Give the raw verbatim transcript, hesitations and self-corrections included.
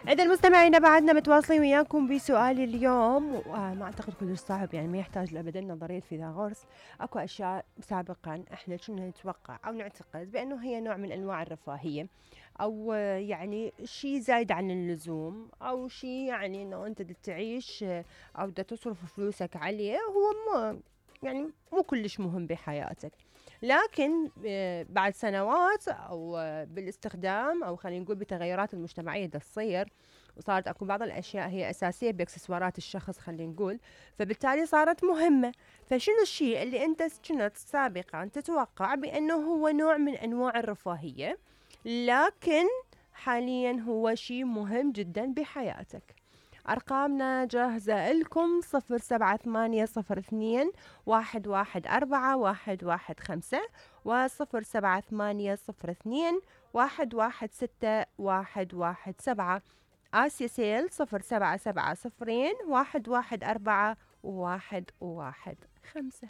إذا المستمعين بعدنا متواصلين وياكم بسؤال اليوم، وما أعتقد كلش صعب، يعني ما يحتاج لأبدا نظرية فيثاغورس. أكو أشياء سابقا إحنا كنا نتوقع أو نعتقد بأنه هي نوع من أنواع الرفاهية، أو يعني شيء زايد عن اللزوم، أو شيء يعني إنه أنت بدك تعيش أو بدك تصرف فلوسك عليه، هو ما يعني مو كلش مهم بحياتك. لكن بعد سنوات أو بالاستخدام، أو خلينا نقول بالتغيرات المجتمعية دا تصير، وصارت أكو بعض الأشياء هي أساسية بإكسسوارات الشخص خلينا نقول، فبالتالي صارت مهمة. فشنو الشيء اللي أنت كنت سابقا تتوقع بأنه هو نوع من أنواع الرفاهية، لكن حاليا هو شيء مهم جدا بحياتك؟ أرقامنا جاهزة لكم: صفر سبعة ثمانية صفر اثنين واحد واحد أربعة واحد واحد خمسة، وصفر سبعة ثمانية صفر اثنين واحد واحد ستة واحد واحد سبعة. آسيا سيل صفر سبعة سبعة صفرين واحد واحد أربعة واحد واحد خمسة.